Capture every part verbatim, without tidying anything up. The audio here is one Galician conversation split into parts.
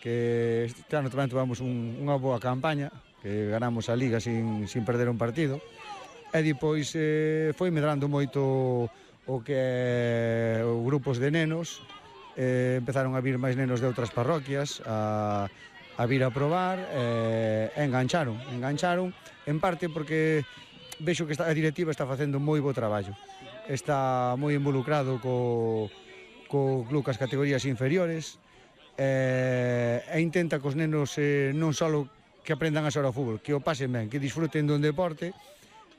que este ano tamén tivemos un, unha boa campaña, que ganamos a Liga sin, sin perder un partido, e depois eh, foi medrando moito o que é os grupos de nenos, eh, empezaron a vir máis nenos de outras parroquias a, a vir a probar, eh, e engancharon, engancharon, en parte porque vexo que esta, a directiva está facendo moi bo traballo, está moi involucrado co, co club cas categorías inferiores, e, e intenta que os nenos eh, non só que aprendan a xogar ao fútbol, que o pasen ben, que disfruten dun deporte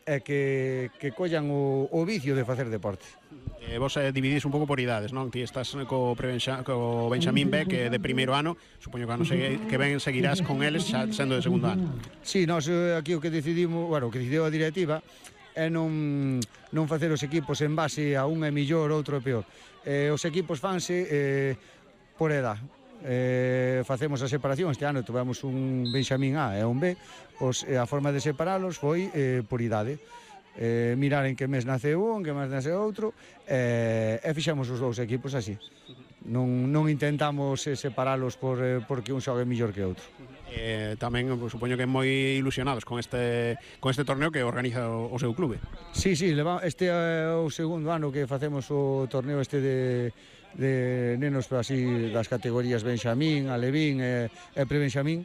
e que, que collan o, o vicio de facer deporte. Eh, vos eh, dividís un pouco por idades, non? Ti estás co, prebenxa, co Benxamín B, que é de primeiro ano, supoño que ano segue, que ben seguirás con eles xa sendo de segundo ano. Sí, nós aquí o que decidimos, bueno, o que decidiu a directiva é non, non facer os equipos en base a un é millor, outro é peor. Eh, os equipos fanse eh, por edad. Eh, facemos a separación, este ano tivemos un Benxamín A e un B, pois a forma de separalos foi eh, por idade, eh, mirar en que mes nace un, en que mes nace outro, eh, e fixemos os dous equipos así, non, non intentamos eh, separalos por, eh, porque un xogue mellor que outro. Eh, tamén pues, supoño que moi ilusionados con este con este torneo que organiza o, o seu clube. Sí, sí, este é o segundo ano que facemos o torneo este de de nenos así das categorías Benxamín, Alevín e, e Prebenxamín.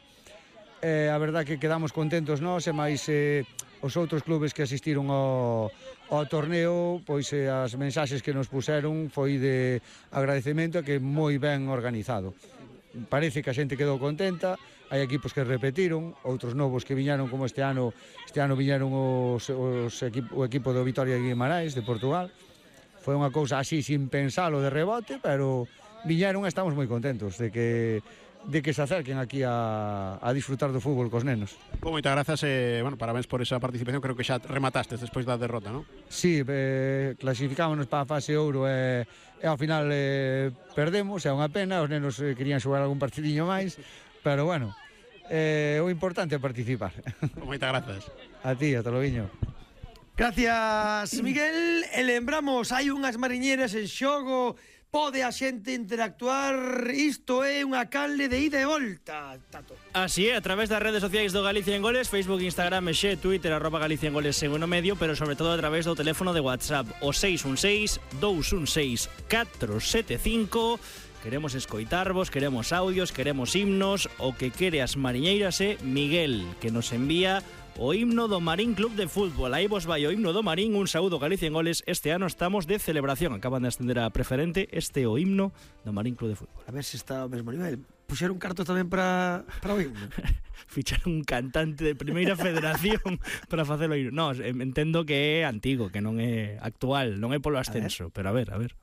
E a verdad que quedamos contentos nós e máis eh, os outros clubes que asistiron ao, ao torneo, pois eh, as mensaxes que nos puseron foi de agradecemento e que moi ben organizado. Parece que a xente quedou contenta, hai equipos que repetiron, outros novos que viñeron como este ano, este ano viñeron os, os equipo, o equipo do Vitoria de Guimarães de Portugal. Foi unha cousa así sin pensalo de rebote, pero viñeron e estamos moi contentos de que de que se acerquen aquí a, a disfrutar do fútbol cos nenos. Bom, moitas grazas e, bueno, parabéns por esa participación, creo que xa rematastes despois da derrota, non? Sí, eh, clasificámonos para a fase ouro e, e ao final eh, perdemos, é unha pena, os nenos eh, querían xogar algún partidiño máis, pero bueno, eh, o importante é participar. Bom, moitas grazas. A ti, ata logo. Gracias, Miguel. E lembramos, hai unhas mariñeiras en xogo, pode a xente interactuar, isto é unha canle de ida e volta, Tato. Así é, a través das redes sociais do Galicia en Goles, Facebook, Instagram, xe, Twitter, arroba Galicia en Goles segundo medio, pero sobre todo a través do teléfono de WhatsApp, o seis un seis, dous un seis, catro sete cinco. Queremos escoitarvos, queremos audios, queremos himnos, o que quere as mariñeiras é Miguel, que nos envía o himno do Marín Club de Fútbol. Aí vos vai o himno do Marín, un saúdo Galicia en Goles. Este ano estamos de celebración, acaban de ascender a preferente. Este é o himno do Marín Club de Fútbol. A ver se está ao mesmo nivel. Puxeron cartos tamén para, para o himno. Ficharon un cantante de primeira federación para facer o himno. No, entendo que é antigo, que non é actual, non é polo ascenso, a pero a ver, a ver.